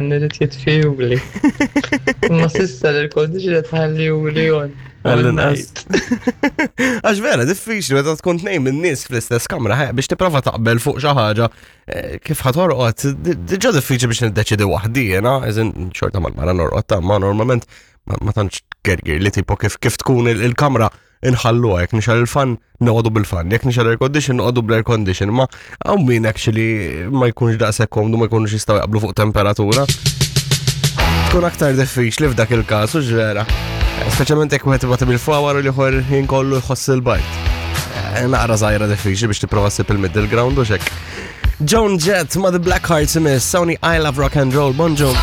Irid jitfihuli. Imma s'issa l-air condition qed ħallihuli on. Għall-inqas. Għax vera, diffiċli meta tkun tnejn minn nies fl-istess kamra ħe, biex tipprova taqbel fuq xi ħaġa eh, kif ħa torqod, diġà diffiċli biex niddeċidi waħdi jiena, eżin xorta mal-mara norqod ta' ma normalment ma tantx gergir li tipo kif kif tkun il-kamra inħalluha, jekk nixgħel il-fan noqogħdu bil-fan, jekk nixgħel air condition noqogħdu bl-air condition, ma hawn min actually ma jkunx daqshekk komdu ma jkunux jistgħu jaqblu fuq temperatura. Tkun aktar diffiċli f'dak il-każ u ġvera. Speċjalment jekk wieħed ibgħat bil-fawar u l-ieħor jinkollu jħoss il-bajt. Eh, naqra żgħira diffiċli biex tipprova ssib il-middle ground u xek. Joan Jett ma' The Black Hearts imiss, Sony I Love Rock and Roll, bonġu.